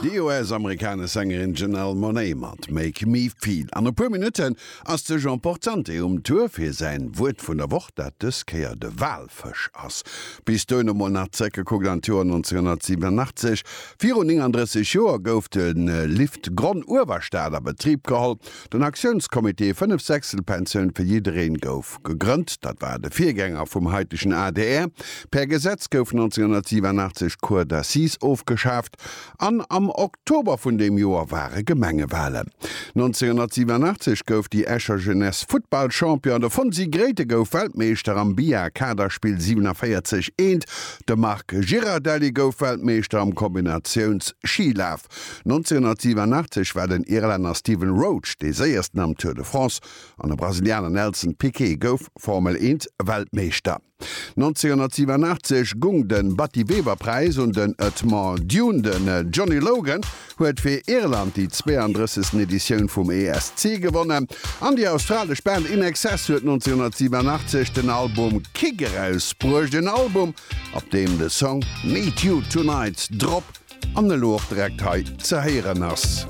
Déi US-amerikanesch Sängerin Janelle Monáe mat Make Me Feel. An e puer Minutten ass de Jean Portante um Tour fir säin Wuert vun der Woch, dat dës Kéier de Walfësch ass. Bis dohin emol nach zréckgekuckt an d'Joer 1987. Virun 39 Joer gouf de Lift Gronn-Uewerstad a Betrib geholl. Den Aktiounscomité 5 Sechstel-Pensioun fir jiddereen gouf gegrënnt. Dat war de Virgänger vum haitegen adr. Per Gesetz gouf 1987 d'Cour d'assises ofgeschaaft an am Oktober vun deem Joer ware Gemengewalen. 1987 gouf déi Escher Jeunesse Futtballchampion, de Fonsi Grethe gouf Weltmeeschter am Bia-Kaderspill 47 Eent, de Marc Girardelli gouf Weltmeeschter am Kombinatiouns-Schilaf. 1987 war den Irlänner Stephen Roach dee séiersten am Tour de France an de Brasilianer Nelson Piquet gouf Formel 1 Weltmeeschter. 1987 gung de Batty Weber Präis un den Edmond Dune. Den Johnny Logan huet fir Irland déi 32. Editioun vum ESC gewonnen an déi australesch Band INXS huet 1987 den Album Kick erausbruecht, en Album op deem de Song Need You Tonight drop An elo och direkt hei ze héieren ass.